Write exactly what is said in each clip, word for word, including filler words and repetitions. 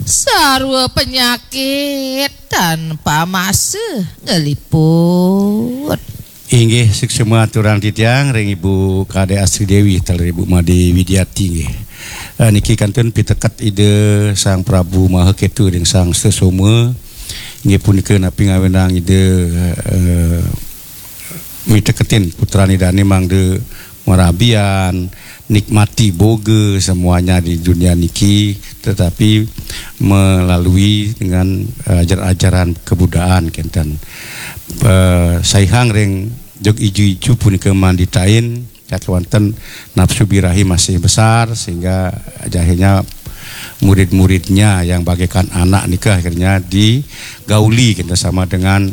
Sarwa penyakit tanpa masa ngeliput. Inggih, suksma aturang titiang ring Ibu Kadek Astri Dewi, taler Ibu Made Widiati nggih. Eh, niki kantun piteket Ida Sang Prabu Maha Ketu ring Sang Sesoma. Inggih punika napi ngawinang Ida, eh, miteketin putran Idane mangda marabian, nikmati boga semuanya di dunia niki, tetapi melalui dengan, eh, ajar-ajaran kebudaan kenten. Eh, saihang ring jog iju-iju punika manditain, ya, kewanten nafsu birahi masih besar sehingga akhirnya murid-muridnya yang bagaikan anak nika akhirnya digauli kenten sama dengan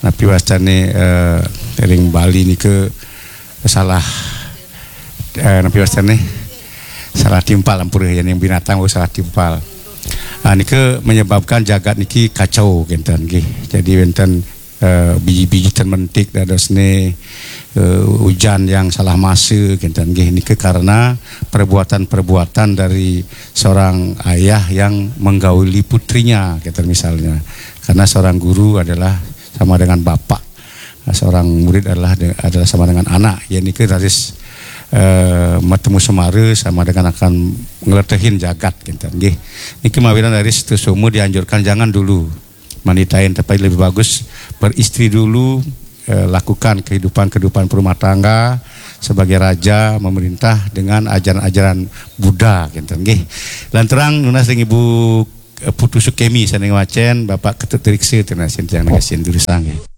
napi wastane, eh, ring Bali nika salah, eh, napi wastane salah timpal ampura ya, yang binatang oh, salah timpal. Ah, nika menyebabkan jagat niki kacau kenten nggih. Jadi wenten, eh, biji-biji ten mentik dadosne, eh, ujan yang salah masa kenten nggih. Nika karena perbuatan-perbuatan dari seorang ayah yang menggauli putrinya kenten misalnya. Karena seorang guru adalah sama dengan bapak. Nah, seorang murid adalah de-, adalah sama dengan anak. Ya nika raris, eh, matemu semara sama dengan akan ngletehin jagat kenten nggih. Niki mawinan raris Sesoma dianjurkan jangan dulu manditain, tapi lebih bagus beristri dulu, eh, lakukan kehidupan-kehidupan perumah tangga sebagai raja memerintah dengan ajaran-ajaran Buddha kenten nggih. Lanturang nunas ring Ibu, eh, Putu Sukemi sane ngwacen, Bapak Ketut Riksa tunas titiang negasin durusang nggih.